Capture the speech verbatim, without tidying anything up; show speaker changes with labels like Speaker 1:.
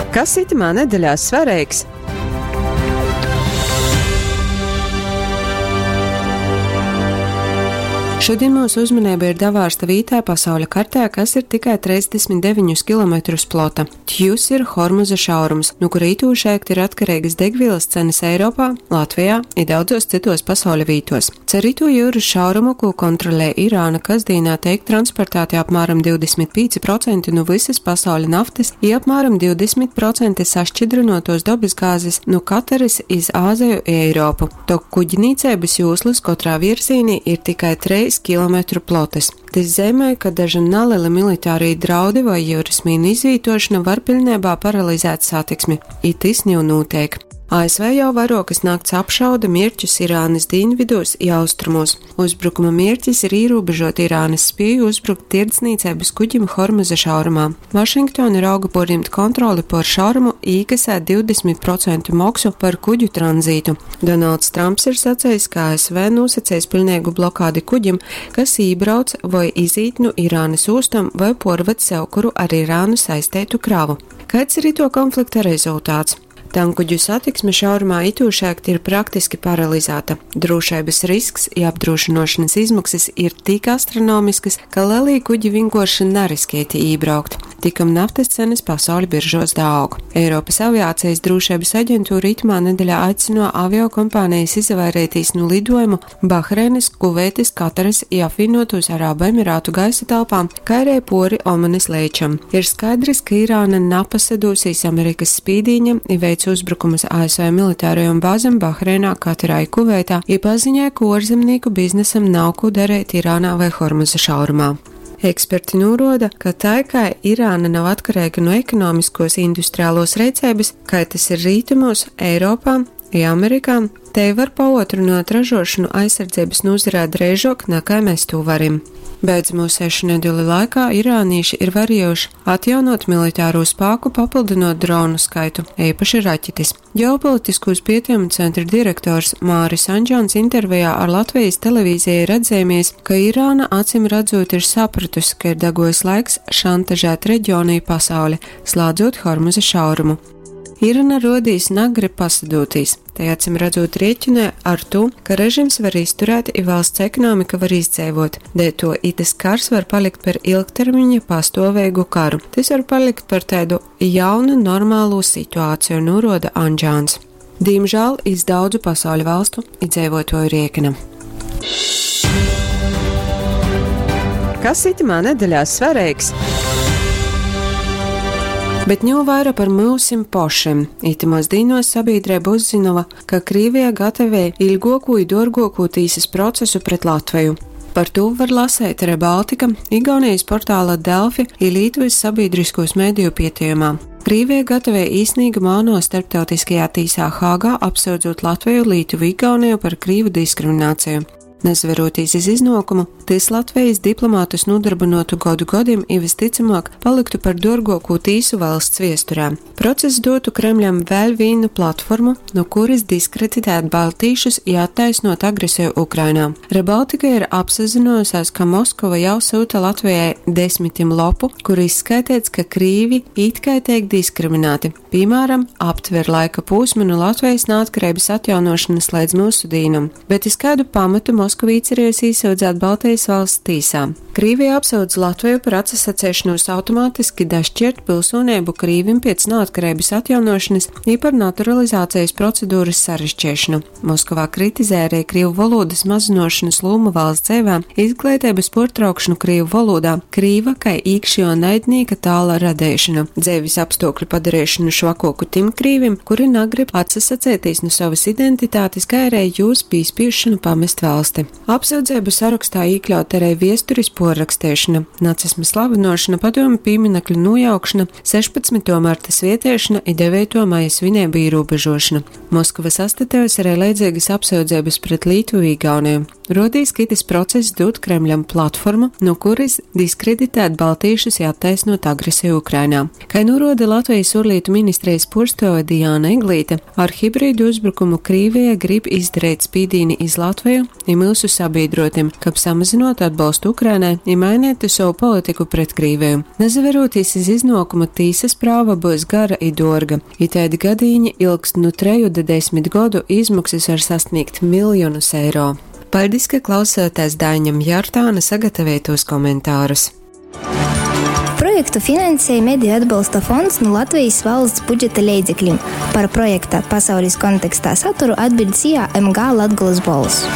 Speaker 1: Kas itymā nedeļā svareigs?
Speaker 2: Šodien mūsu uzmanība ir davārsta vītā pasauļa kartē, kas ir tikai trīsdesmit deviņus kilometrus plota. Tjus ir Hormuza šaurums, nu kura itūšēkt ir atkarīgas degvielas cenas Eiropā, Latvijā i daudzos citos pasauļa vītos. Car itū jūras šaurumu, ko kontrolē Irāna, kasdīnā teik transportēti apmēram divdesmit pīci procenti nu visas pasauļa naftas i apmēram divdesmit procenti sašķidrinotos dabasgāzes nu Kataras iz Āzeju i Eiropu. Tok kuģnīceibas jūslas katrā virzīnī ir tikai treis kilometru plotas. Tas zemē, ka daži nelieli militārī draudi vai jūras mīnu izvītošana var pilnībā paralizēt satiksmi. I tis jau notiek. A S V jau vairokas nakts apšauda mierķus Irānas dienvidos i austrumos. Uzbrukuma mierķis ir ierobežot Irānas spēju uzbrukt tirdzniecības kuģim Hormuza šaurumā. Vašingtona rauga porņemt kontroli pār šaurumu i iekasēt divdesmit procentu moksu par kuģu tranzītu. Donalds Trumps ir sacījis, ka A S V nosacīs pilnīgu blokādi kuģim, kas ībrauc vai izīt no Irānas ostam vai porved sev kuru ar Irānu saistētu kravu. Kāds ir ito konflikta rezultāts? Tankuģu satiksme šaurumā itūšēkt ir praktiski paralizēta. Drošības risks i apdrošināšanas izmaksas ir tik astronomiskas, ka lielī kuģi vienkārši neriskēti ībraukt. Tikam naftas cenas pasaules biržos daaug. Eiropas aviācijas drošības aģentūra itamā nedēļā aicino aviokompānijas izvairīties no lidojumu Bahreinas, Kuveitas, Kataras i apvienotos Arābu Emirātu gaisa telpām, kā arī pori Omanas leičam. Ir skaidrs, ka Irāna napasadūsīs Amerikas spīdīņam i veic uzbrukumus A S V militārajām bāzēm Bahreinā, Katarā i Kuveitā, i paziņoja, ka ārzemnieku biznesam nav ko darīt Irānā vai Hormuza šaurumā. Eksperti norāda, ka tā kā Irāna nav atkarīga no ekonomiskos industriālos rīcības, kā tas ir rītumos, Eiropā i Amerikā, te var paotrunāt ražošanu aizsardzības nozarē drēžok, nekā mēs to varim. Beidzamo sešu nedēļu laikā irānieši ir varējuši atjaunot militāro spēku, papildinot dronu skaitu, īpaši raķetes. Ģeopolitiskos pētījumu centra direktors Māris Andžāns intervijā ar Latvijas televīziju ir atzīmies, ka Irāna acīm redzot ir sapratusi, ka ir dagojis laiks šantažēt reģionu i pasauli, slēdzot Hormuza šaurumu. Irāna rodīs nagrib pasadūtīs. Te acīm redzot rēķinē ar to, ka režims var izturēt i valsts ekonomika var izdzīvot. Dēļ to itas kars var palikt par ilgtermiņa pastāvīgu karu. Tas var palikt par tādu jaunu normālu situāciju, norāda Andžāns. Diemžēl iz daudzu pasauļu valstu iedzīvotāju rēķina.
Speaker 1: Kas itamā nedēļā svarīgs?
Speaker 2: Bet ņū vaira par myusim pošim. Itamos dīnos sabiedrība uzzinova, ka Krīvija gatavē ilgoku i dorgoku tīsas procesu pret Latviju. Par to var lasēt Rebaltika, Igaunijas portāla Delfi i Lietuvas sabiedriskos mediju pietījumā. Krīvija gatavē īsnīgu māno starptautiskajā tīsā Hāgā, apsūdzot Latviju, Lietuvu, Igauniju par krīvu diskrimināciju. Nezveroties iz iznokumu, tis Latvijas diplomātus nodarbinotu godu godim i visticamāk paliktu par dorgokū tīsu valsts viesturā. Process dotu Kremļam vēl vienu platformu, no kuras diskreditēt baltīšus i attaisnot agresiju Ukrainā. Rebaltika ir apsazinojusies, ka Moskova jau sūta Latvijai desmitim lopu, kur izskaitīts, ka krīvi it kā tiek diskriminēti. Piemēram, aptver laika posmu no Latvijas neatkarības atjaunošanas līdz mūsu dīnam, bet iz kādu pamatu Moskava īcerējusi īsūdzēt Baltijas valsts tīsā. Krīvija apsūdz Latviju par atsasacēšanos automātiski dašķirt pilsonību Krīvim pēc neatkarības atjaunošanas i par naturalizācijas procedūras sarežģīšanu. Moskovā kritizē arī krīvu valodas mazinošanas lomu valsts dzīvē, izglītības portraukšanu krīvu valodā, krīva kai īkšķo naidnīka tāla radēšanu, dzīves apstākļu padarīšanu švakoku tim krīvim, kuri nagrib atsasacēties no savas identitātes, kā arī jūs pīspiešanu pamest valsti. Apsūdzību sarakstā iekļaut arī viesturis porrakstēšana, nacisma slavinošana, padomu pieminekļu nojaukšana, sešpadsmito marta svietēšana i devīto maija svinību ierobežošana. Moskava sastatējusi arī leidzīgas apsūdzības pret Lietuvu Igauniju. Rodīs, ka itis process dod Kremļam platformu, no kuras diskreditēt baltīšus i attaisnot agresiju Ukrainā. Kā norāda Latvijas ārlietu ministrijas porstove Diāna Eglīte, ar hibrīdu uzbrukumu Krīvija grib izdarīt spīdīni iz Latviju i myusu sabīdruotim, kab samazynuotu atbolstu Ukrainai i maineitu sovu politiku pret Krīveju. Nasaverūtīs iz iznuokumu, tīsys prāva byus gara i duorga. Itaidi gadīņi ilgst nu treju da desmit godu, izmoksys var sasnīgt miljonus eiro. Paļdis, ka klausāties Daiņam Jartāna sagatavotos komentārus.
Speaker 3: Projektu finansēja Mediju atbalsta fonds nu Latvijas valsts budžeta leidzeklim. Par projekta pasaules kontekstā saturu atbild S I A M G Latgolas Bolss.